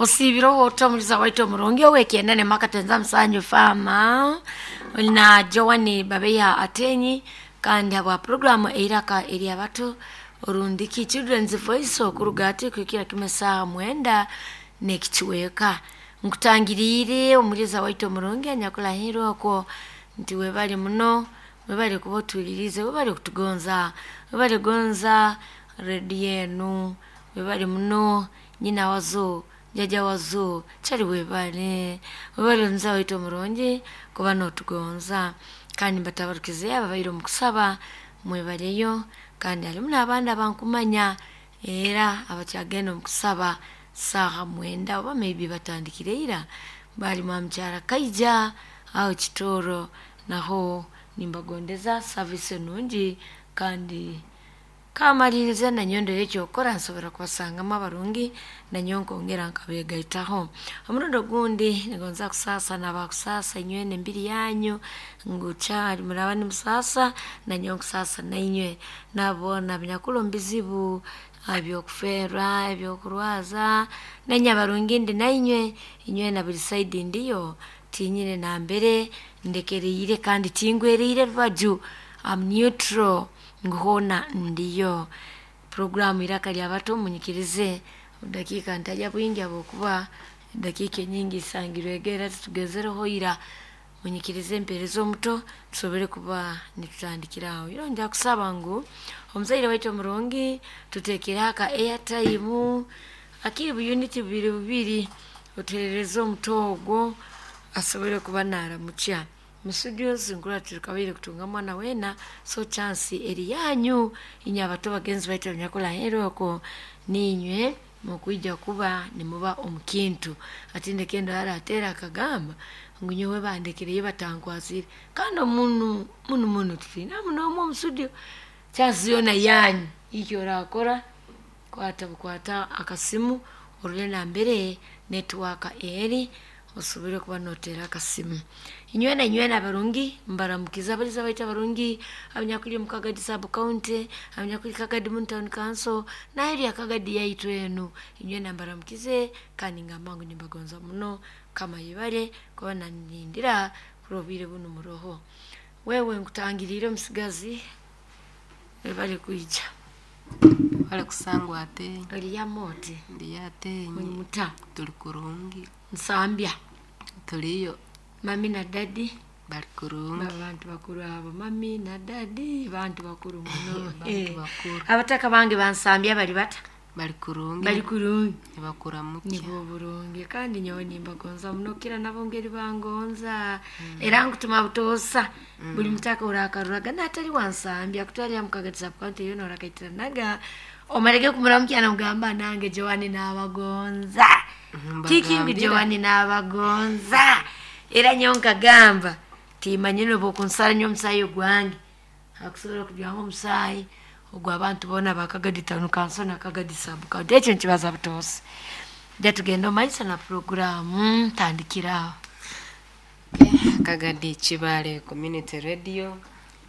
Osiibireho ota omuliza waitu omurungi ow'ekyenda makatenza musanju faama na Joan Babeya Atenyi kandi habwa programu eiraka eryabato orundiki Children's Voice okuruga ati kuhikira kimwe saaha 9 n'ekichweka. Nkutangiriire omuliza waitu omurungi anyakulahirwe okwo nti webale muno, webale kuba otuhuliriize, webale kutugonza, webale gonza rediyo enu, webale muno nyina wazo, jjajja wazo, kyali webale, webale omuliza waitu omurungi kuba n'otugonza. Kandi mbatabarukize ababaire omu kusaba mwebaleyo, kandi harimu n'abandi abankumanya era abakyagenda omu kusaba saaha 9 oba maybe batandikire ira, bali mwa mukyara Kaija aho Kitooro, naho nimbagondeza service enungi kandi kamalirize nanyowe ndore ekyokukora nsobora kubasangamu abarungi nanyowe nkongera nkabegaitaho. Omurundi ogundi ningonza kusaasa n'abakusaasa inywena embiri yanyu ngu kyali muraba nimusaasa nanyowe nkusaasa nainywe, nabo boona abanyakuli omu bizibu eby'okufeerwa, eby'okurwaza, nainywe abarungi ndi nainywe, inywena buli side ndiyo tinyine nambere ndekeriire kandi tingweriire rubaju, am neutral ngu hoona ndiyo. Puroguramu Iraka ly'abato munyikirize obudakiika ntalya bwingi habwokuba edakiika enyingi isangirwege era titugezereho ira. Munyikirize mpeereze omuto tusobole kuba nitutandikira aho. Iro nja kusaba ngu omuzaire waitu omurungi tuteekereho aka airtime akiri buyuniti bubiri bubiri otuheerereze omuto ogwo asobole kuba naaramukya. Mu studios nkurora titukabaire kutunga mwana weena, so chance eri yanyu inywe abato bagenzi baitu abanyakulahirwe okwo niinywe mukwija kuba nimuba omu kintu. Hati ndeke ndora arateera akagamba ngu nyowe bandekereyo batankwasire, kandi omunu munu muno titwinamu n'omu omu studio, chance yoona yanyu eki orakora kwata bukwata akasimu orole nambere network eri osobole kuba noteera akasimu. Inywena inywena abarungi mbaramukize abaliza baitu abarungi abanyakuli omu Kagadi sub county, abanyakuli Kagadi mu town council n'aheeru ya Kagadi yaitu enu, inywena mbaramukize kandi ngamba ngu nimbagonza muno Mukama ayebare kuba nandindira kurora obwire bunu muroho. Wewe nkutangiriire omusigazi webale kwija. Webale kusangwa Atenyi. Oriyamu oti? Ndiyo Atenyi. Muri muta? Tuli kurungi. Nsambya. Tuliyo. Mami na dadi? Bali kurungi. Bantu bakuru abo, mami na dadi bantu bakuru muno. Bantu bakuru. Abataka bange bansambya bali bata? Bali kurungi. Bali kurungi. Nibakuramukya. Nibwo burungi kandi nyowe nimbagonza muno kira nabo ngeri bangonza. Era nkutuma butoosa buli mutaka orakaruraga n'atali wansambya kutwalira mu Kagadi sub county yoona orakaitiranaga omarege kumuramukya nomugamba nange Joan naabagonza. Kiki ngu Joan naabagonza. Era nyowe nkagamba timanyire obu okunsara nyowe omusaayi ogwange akusobora kujwamu omusaayi ogw'abantu boona aba Kagadi town council na Kagadi sub county, ekyo nkibaza butoosa. Ija tugende omu maiso na puroguraamu ntandikire aho. Kagadi Kibaale Community Radio,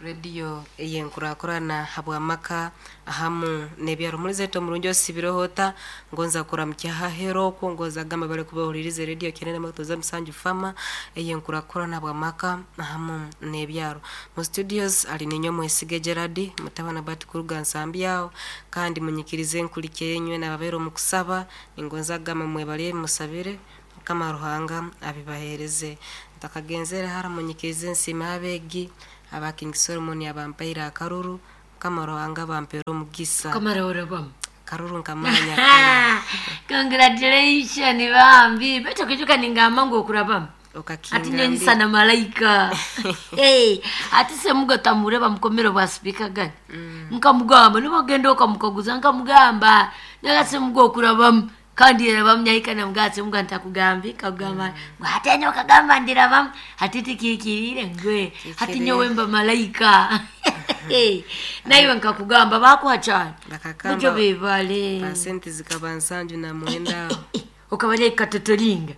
radio ey'enkurakurana habw'amaka ahamu n'ebyaro. Omulizi waitu omurungi osiibireho ota? Ngonza kuramukya haheeru okwo, ngonza kugamba bari kuba bahuliriize radio kyenda n'emwe musanju Fama ey'enkurakurana habw'amaka ahamu n'ebyaro. Mu studios ali ninyowe Mwesige Gerard, mutabani Bati kuruga Nsambya aho, kandi munyikirize nkulikye inywe n'ababaire omu kusaba, ningonza kugamba mwebale musabire Mukama Ruhanga abibaheereze. Ntakagenzere hara munyikirize nsiime abeegi aba King Solomon abampaire akaruru, Mukama Ruhanga abampere omugisa. Kamara orabamu. Karuru nkamanya kare. Congratulations bambi. Baitu okijuka ningamba ngu okurabamu. Ati Okakingambira. nyonyisa na malaika. Hey, ati semugo tamureba mukomero bwa speaker gani. Nkamugamba nibagenda okamukaguza nkamugamba nyaga semugo okurabamu kandi yarabamu nyahika namugaa semugo ntakugamba nkagamba ngu hati anyowe okagamba ndirabamu hati tikikiriire ngwe hati nyowe mba malaika. Hey, naiwe nkakugamba bakuha cyane Bakakamba mujo bebale pasenti zikaba 79 aho. Okabalya ikatotolinga.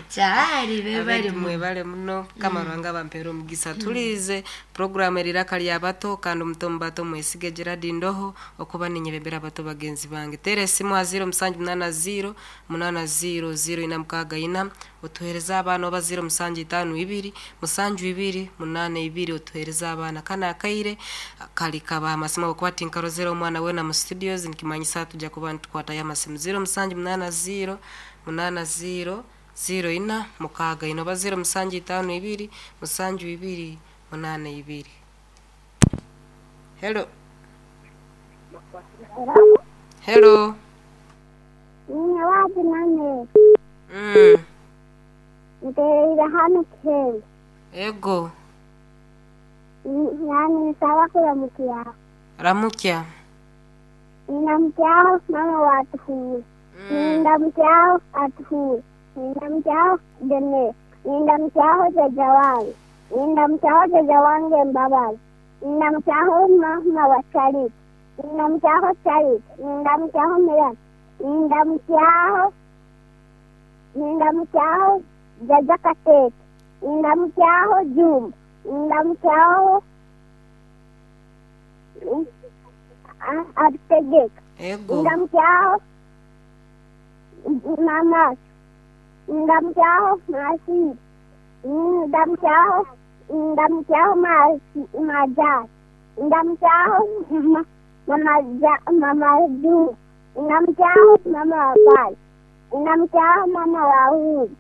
Kyali bebali. Abetu mwebale muno, kama Ruhanga bampera omugisa. Tulize programu eriraka lya bato, kandi omuto mubato mwesige Gerard Ndoho okuba ninyebembera abato bagenzi bange. Tera esimu ha 0780 80 0464, otuhereza abaana, oba 0752 72 82, otuhereza abaana. Kana akaire kali kabaha amasimu, okuba tinkarozere omwana wena mu studios, nikimanyisa tujja kuba nitukwatayo amasimu. 0780 80 0464 oba 0752 72 82. Hello. Hello. Ninye wapi nane? Mm. Nterera hano kihembe. Ego. Nani nisaba kuramukya. Ramukya. Ninamukyaho mama watuhuwe. Nindamukyaho atuhuwe. Nindamukyaho Dene. Nindamukyaho jaja wange. Nindamukyaho jaja wange Mbabazi. Nindamukyaho mama wa Charity. Nindamukyaho Charity. Nindamukyaho Mirani. Nindamukyaho, nindamukyaho jaja Katete. Nindamukyaho Juma. Nindamukyaho Abitegeka. Ego. Ndamukyaho mama, ndamukyaho masi, ndamukyaho, ndamukyaho masi majani, ndamukyaho mama mama Juma, ndamukyaho mama wa pali, ndamukyaho mama wa Uhuru.